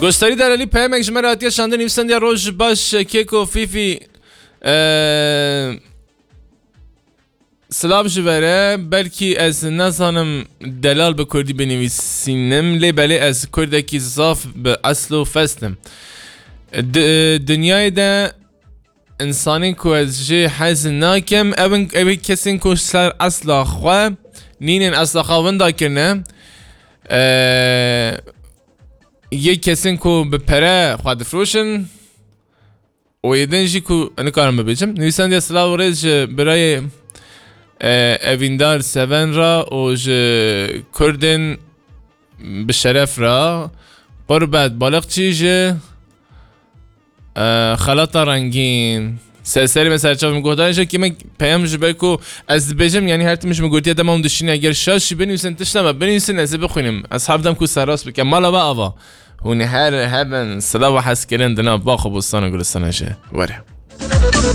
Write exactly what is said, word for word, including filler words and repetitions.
Goştarî Derelî peyemek ji me re hatiye şandin, nivîsandiye: "Roj baş Keko Fîfî." Eee, silav ji we re, belkî ez nezanim delal bi kurdî binivîsînim, lê belê ez kurdekî zaf bi esl û fest im. Di, dinyayê de însanên ku ez jê hez nakim, ew in, ew ê kesên ku ser esla xwe nînin, esla xwe winda kirine. Eee, yê kesên ku bi pere xwe difroşin û yê din jî ku nikarim bibêjim. Nivîsandiye: "Silav û rêz ji birayê, e, Evîndar Seven re û ji Kurdên bi şeref re." Qurbet Balıkçı ji, e, Xelata Rengîn. Ser serê me, ser çavê me, guhdarên ji kî me peyam ji ber ku ez dibêjim, yanî her tim ji min gotiye dema hûn dişîne, eger şaş jî binivîsin, tişta me binivîsin, ez ê bixwînim. Ez hevdem ku serrast bike. Mala we ava. Hûn ê her hebin, silav û hezkirin di nav bax û bostan û gulistana jî. Were.